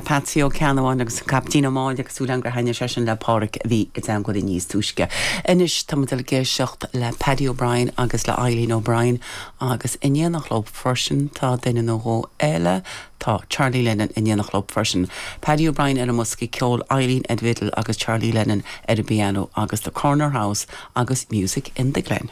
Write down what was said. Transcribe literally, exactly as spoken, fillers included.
Patsy Ó Ceannabháin agus an Caiptín Ó Máille agus súil gur thaitnigh sé sin le Pádraig a bhí i dteagmháil níos túisce. Anois tá ag éisteacht le Paddy O'Brien agus le Eileen O'Brien agus in éineacht leo freisin tá duine nó dhó eile tá Charlie Lennon in éineacht leo freisin. Paddy O'Brien ar an mbosca ceoil Eileen ar an bhfidil agus Charlie Lennon ar an bpianó agus the Corner House agus Music in the Glen.